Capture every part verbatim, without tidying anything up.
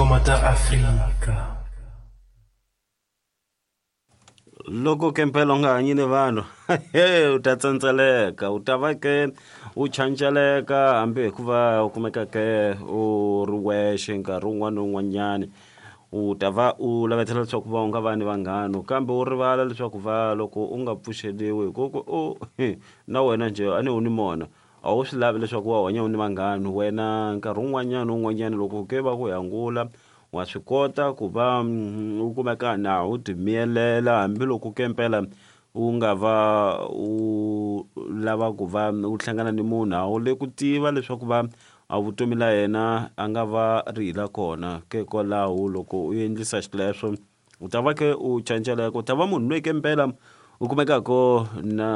Tingoma ta Afrika. Loko ke mpela u nga hanyi ni vanhu u ta tsandzeleka u ta va ke u chanceleka hambi hikuva u kumeka ke u ri wexe nkarhi wun'wana na wun'wanyani u ta va u lavetela leswaku va u nga va ni vanghana kambe u rivala leswaku va loko u nga pfuxeliwi hi ku u na wena njhe a ni u ni mona a wu swi lavi leswaku wa hanya u ni vanghana wena nkarhi wun'wanyana na wun'wanyana loko ke va ku hangula wa swi kota ku va u kumeka na u ti miyelela hambiloko ke mpela u nga va u lava ku va u hlangana ni munhu a wu le ku tiva leswaku va a vutomi la yena a nga va ri hi la kona ke kwalaho loko u endlisa xileswo u ta va ke u canceleka u ta va munhu loyi ke mpela u kumekaka na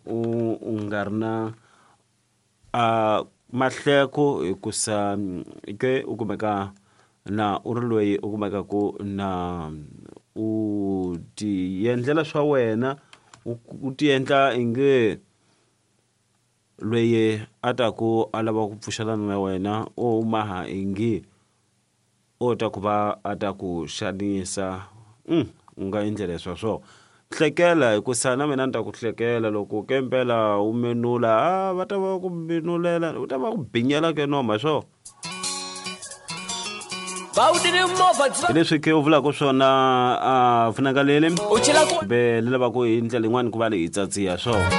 u u nga ri na a mahleko hikusa ke u kumeka na u ri loyi u kumekaku na u ti endlela swa wena u ti endla inge loyi a ta ku a lava ku pfuxelana na wena o maha ingi o ta ku va a ta ku xanisa mm, u nga endlela sweswo hlekela hikusa na mina ni ta ku hlekela loko ke mpela u menula a va ta va ku menulela u ta va ku binyela ke noma hi swona hi leswi ke u vulaka swona a funakalele U chela ku kumbe ni lavaku hi ndlela yin'wani ku va leyi tsatsiha swona